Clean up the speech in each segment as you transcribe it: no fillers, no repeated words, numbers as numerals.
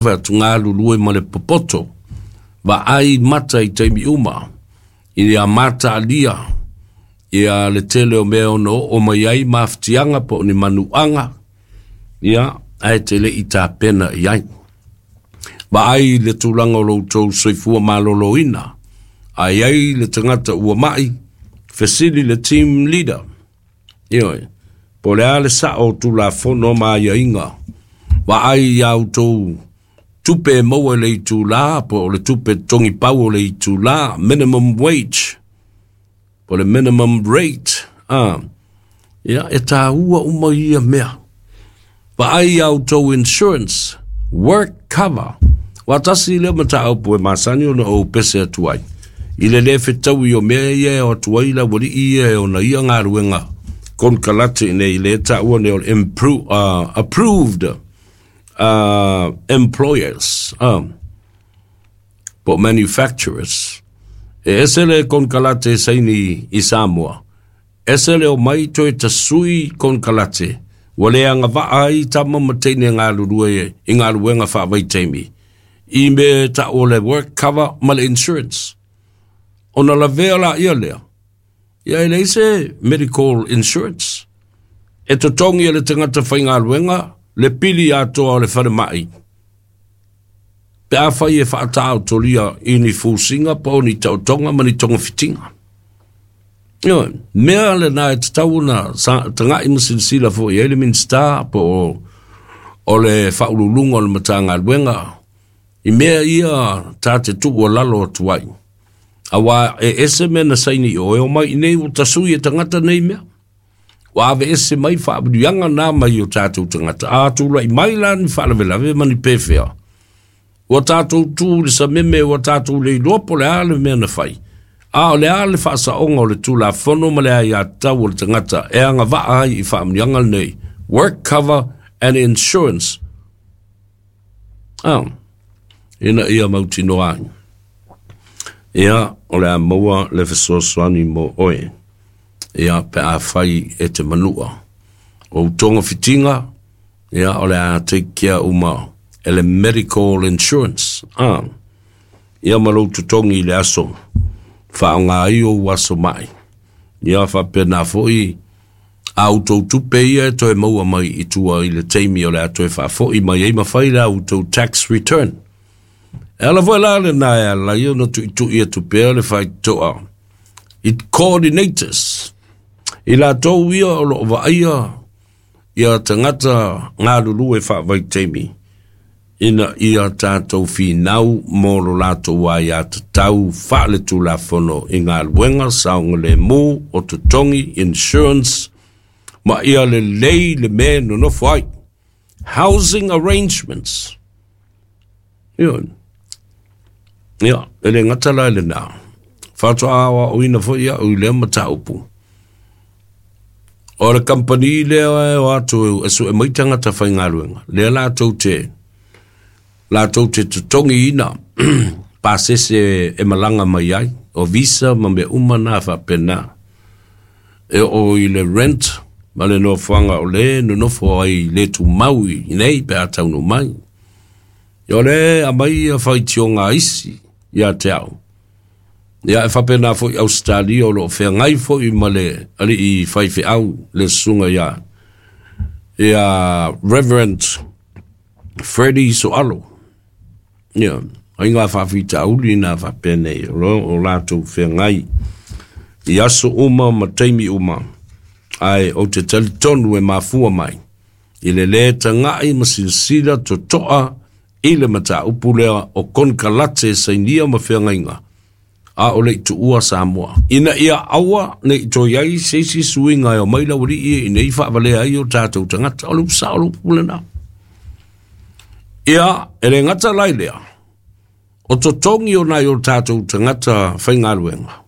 Fai atu galulue ma le popoto, vaai mata i taimi uma, ia mataalia ia le tele o mea e ono oo mai ai mafatiaga po o ni manuaga, ia, ae te le i tapena i ai. Vaai i le tulaga o lo outou soifua maloloina, a i ai le tagata ua mai, fesili le team leader, Ioe, po o le a le sao o Tulafono ma aiaiga, vaai i a outou tupe e maua i le itula, po o le tupe totogi pau o le itula, minimum wage, po o le minimum rate, a, ia, e taua uma ia mea. Vaai i a outou insurance, work cover. Aua tasi lea mataupu e masani ona ou pese atu ai, i le le fetaui o mea ia e o atu ai le aualii ia e ona ia galuega konekarate i nei le taua nei o le impro, approved employers, po o manufacturers. E ese le konekarate e saini i Samoa, Ese le omai toe tasui konekarate ua le agavaa ai tama ma teine galulue i galuega faavaitaimi i mea e tau o le work cover ma le insurance. Ona lavea laia lea, ia e leai se medical insurance. E totogi e le tagata faigaluega le pili atoa o le falemai pe afai e faataotolia i ni fusiga po o ni taotoga ma ni togafitiga. Ioe, mea lena e tatau ona tagai ma silasila foi i ai le Minisita po o, o le Faauluuluga o le Matagaluega i mea ia ta te tuualalo atu ai. Aua e ese mea na saini i o, e omai i nei ua tasui e tagata nei mea. Ua aveese mai faamanuiaga na mai o tatou tagata. A tulai mai la ni faalavelave ma ni pefea, Ua tatou tu i le sameme, ua tatou le iloa po o le a le mea na fai, a o le a le faasaoga o le Tulafono ma le aiatatau o le tagata e agavaa ai i faamanuiaga lenei, work cover and insurance, a, ina ia mautinoa ai. Ia, o le a maua le fesoasoani mo oe, ia, pe a fai e te manua. O ou togafitiga, Ia, o le a take care uma e le medical insurance, a. Ia ma lou totogi i le aso, faaaoga ai ou aso mai. Ia, faapena foi a outou tupe ia e toe maua mai i tua i le taimi o le a toe faafoi mai ai ma fai la outou tax return. E ala foi la lena e ala ai ona tuitui atu pea le faitotoa i coordinators, i latou ia o lo o vaaia ia tagata galulue faavaitaimi ina ia tatou finau mo lo latou aiatatau faaletulafono i galuega saogalemu o totogi, insurance, ma ia lelei le mea e nonofo ai, housing arrangements. Ioe. Ia, e le gata la i lena, faatoa aoaoina foi au i lea mataupu. O le kamupani lea e o atu e sue mai tagata faigaluega, lea latou te, latou te totogiina pasese e malaga mai ai, o visa ma mea uma na faapena. E oo i le rent ma le nofoaga o le nonofo ai le tumau i nei pe a taunuu mai. Ia o lea e aumai ia faitioga a isi ia te au. Ia e faapena foi Ausetalia o lo o feagai foi ma le alii faifeau le susuga ia ia Reverend Freddie Soalo. Ia, ai ngā faafitauli nā faapenei o lo o latou feagai i aso uma ma taimi uma, ae ou te talitonu e mafua mai i le lē taga'i ma silasila toto'a i le mataupu lea o konekarate sainia ma feagaiga, a o le i tuua Samoa, ina ia aua ne i toe i ai se isi suiga e omai le aualii i nei faavalea ai o tatou tagata. O le upu sao o le upu lena. Ia, e le gata la i lea, o totogi o nai o tatou tagata faigaluega,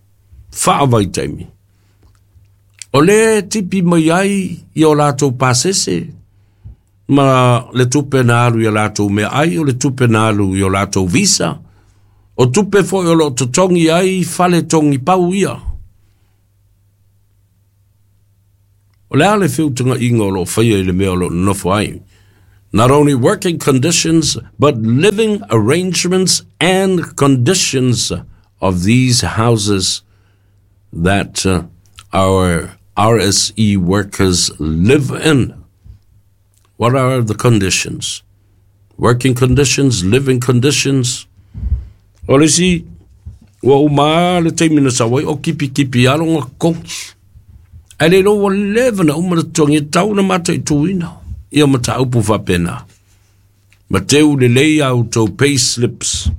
faavaitaimi, o lea e tipi mai ai i o latou pasese, ma le tupe na alu i a latou meaai, o le tupe na alu i o latou visa, o tupe foi o lo o totogi ai fale togi pau ia. O le a le feutagaiga o lo o faia i le mea o lo o nonofo ai? Not only working conditions, but living arrangements and conditions of these houses that our RSE workers live in. What are the conditions? Working conditions, living conditions. O le isi, ua uma le taimi na sau ai o kipikipi lava lona totogi. Ae le iloa ua leva ona uma le totogi e tatau ona mataituina ia mataupu faapena. Ma teu lelei a outou pay slips.